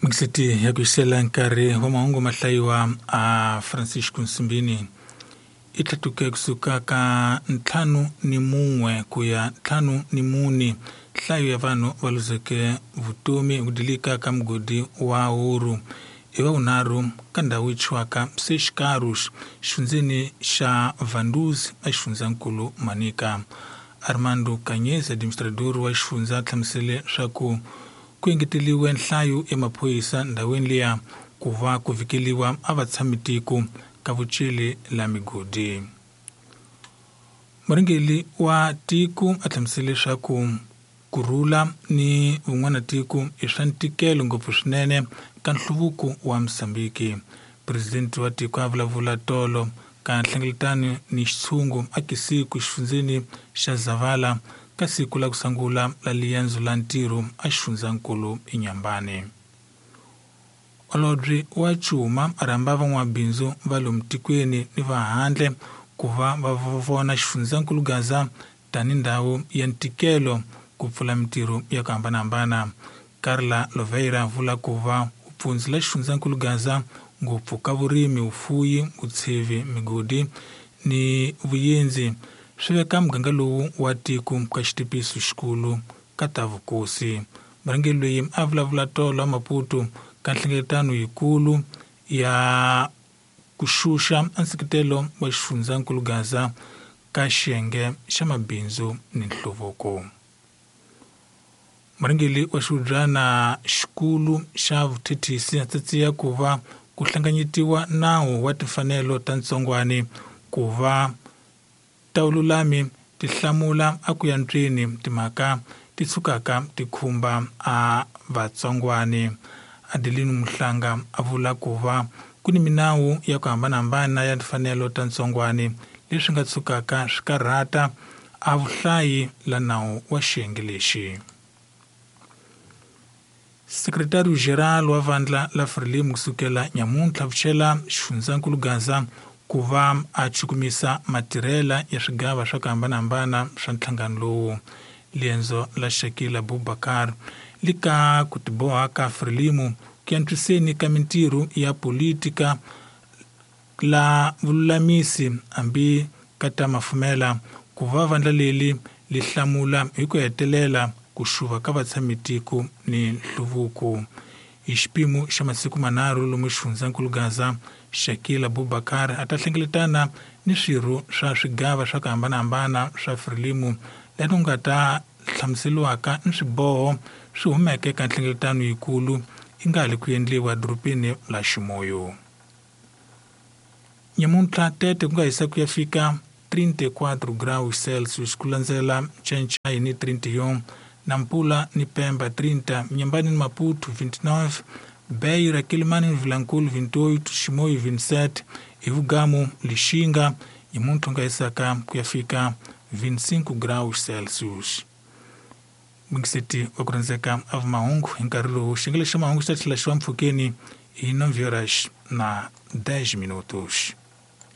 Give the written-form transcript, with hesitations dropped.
Mixiti ya ku yisela nkarhi wa mahungu mahlayiwa a Francisco Nsimbini i tlhatuke kusuka ka 51 ku ya 54 nhlayo ya vanhu va luzeke vutomi ku dilika ka mugodi wa ouro i wa vunharhu ka ndhawu yi thyiwaka Seis Carros xifundzeni xa Vanduzi exifundzankulu Manica. Armando Kanyezi administrador wa xifundza hlamusele swa ku ku engeteliwe nhlayo ya maphorisa ndhawini liya ku va ku vhikeliwa a vatshami tiko ka vuceli la migodi. Murhangeri wa tiko a hlamusele leswaku ku rhula ni vun'wana tiko i swa ntikelo ngopfu swinene ka nhluvuko wa Mozambique. Presidente wa tiko a vulavula tolo ka nhlengeletano ni xitshungu a Kisiku xifundzeni xa Zavala ka siku la ku sungula la liendzo la ntirho a xifundzankulu eNyambane. Holobye wa Cuma a rhamba van'wabindzu va lomu tikweni ni va handle ku va va vona xifundzankulu Gaza tani ndhawu ya ntikelo ku pfula mintirho ya ku hambanahambana. Carla Loveira vula ku va vupfundzi la xifundzankulu Gaza ngopfu ka vurimi, vufuyi, vutshevi, migodi ni vuyendzi swi veka muganga lowu wa tiko ka xitipiso xikulu ka ta vukosi. Murhangeri loyi a vulavula tolo a Maputo ka nhlengeletano yikulu ya ku xuxa nseketelo wa xifundzankulu Gaza ka xiyenge xa mabindzu ni nhluvuko. Murhangeri wa xihubyana xikulu xa vuthethisi a tsatsiya ku va ku hlanganyetiwa nawu wa timfanelo ta ntsongwani ku va ta vululami ti hlamula a ku ya ntswini timhaka ti tshukaka ti khumba a vatsongwani. Adeline Muhlanga a vula ku va ku ni minawu ya ku hambanahambana ya timfanelo ta ntsongwani leswi nga tshukaka swi karhata a vuhlayi la nawu wa xiyenge lexi. Secretario Geral wa vandla la Frelimo kusukela nyamuntlha vuchela xifundzankulu Gaza ku va a chukumisa matirhela ya swigava swa ku hambanahambana swa nhlangano lowu. Liendzo la Shakila Abubakar li ka ku tiboha ka Frelimo ku antswiseni ka mintirho ya politika la vululamisi hambi ka ta mafumela ku va vandla leri li hlamula hi ku hetelela ku xuva ka vatshamitiko ni nhluvuko. Hi xipimo xa masiku manharhu lomu xifundzankulu Gaza, Shakila Abubakar a ta hlengeletana ni swirho swa swigava swa ku hambanahambana swa Frelimo laha ku nga ta hlamuseriwaka ni swiboho swi humeke ka nhlengeletano yikulu yi nga ha li ku endliwa edorobeni la Ximoyo. Nyamuntlha tete ku nga hisa ku ya fika 34 graus Celsius ku landzela Nchenchai ni 31, Nampula ni Pemba 30, Mnyambani ni Maputo 29, Beira, Quelimane ni Vilankulu 28, Ximoyo 27, Ivugamu, Lixinga nyamuntlha nga hisaka ku ya fika 25 graus Celsius. Mixiti wa ku rhandzeka a mahungu hi nkarhi lowu xiyenge xa mahungu xi ta tlhela xi va mpfhukeni hi 9 horas na 10 minutos.